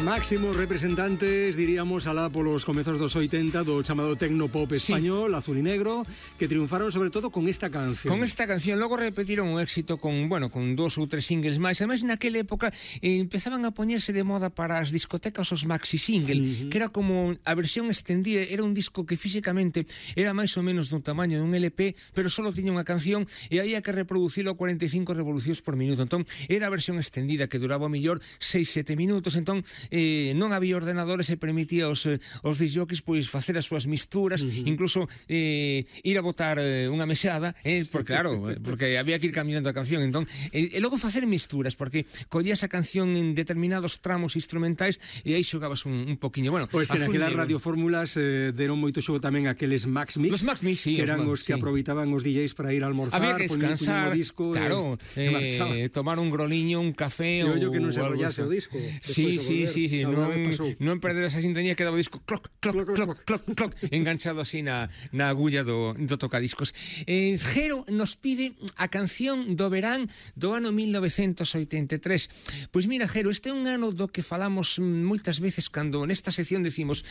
Máximos representantes, diríamos, alá polos comezos dos 80 do chamado tecnopop español, sí. Azul y Negro, que triunfaron sobre todo con esta canción. Con esta canción, logo repetiron un éxito con, bueno, con 2 ou 3 singles máis. Ademais, naquela época empezaban a poñerse de moda para as discotecas os maxi single, que era como a versión extendida, era un disco que físicamente era máis ou menos do tamaño dun LP, pero só tiña unha canción e había que reproducilo a 45 revolucións por minuto. Entón, era a versión extendida que duraba o mellor 6-7 minutos. Entón, non había ordenadores e permitía aos disjockeys pois facer as súas misturas, incluso ir a botar unha mesada, porque claro, porque había que ir cambiando a canción. Entón, e logo facer misturas, porque collías a canción en determinados tramos instrumentais e aí xogabas un poquinho. Bueno, pois que naquelas radiofórmulas deron moito xogo tamén aqueles Max Mix, los Max Mix, sí, que eran os que aproveitaban os DJs para ir a almorzar, había que descansar, disco, claro, tomar un groliño, un café ou que non se enrollase o disco. Sí, non perder esa sintonía, quedaba o disco cloc, cloc, cloc, cloc, cloc, enganchado así na agulla do tocadiscos. Jero nos pide a canción do verán do ano 1983. Pois mira, Jero, este é un ano do que falamos moitas veces cando nesta sección decimos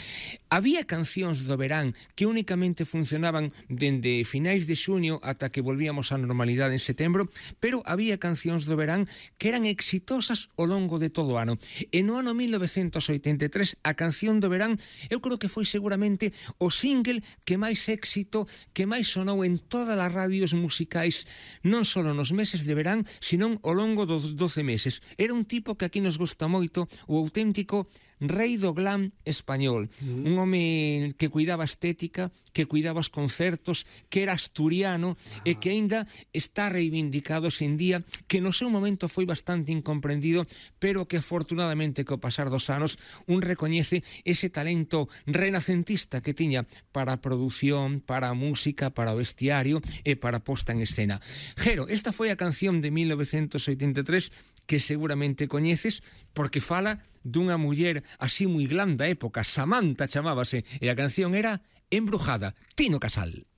había cancións do verán que únicamente funcionaban dende finais de xuño ata que volvíamos á normalidade en setembro, pero había cancións do verán que eran exitosas ao longo de todo o ano. E no ano 1983 a canción do verán eu creo que foi seguramente o single que máis éxito, que máis sonou en todas as radios musicais, non só nos meses de verán, sino ao longo dos 12 meses. Era un tipo que aquí nos gusta moito, o auténtico rei do glam español, un home que cuidaba a estética, que cuidaba os concertos, que era asturiano e que aínda está reivindicado sen día, que no seu momento foi bastante incomprendido, pero que afortunadamente co pasar dos anos un recoñece ese talento renacentista que tiña para a produción, para a música, para o vestiario e para a posta en escena. Jero, esta foi a canción de 1983 que seguramente coñeces porque fala dunha muller así moi glam da época, Samantha chamábase, e a canción era Embrujada, Tino Casal.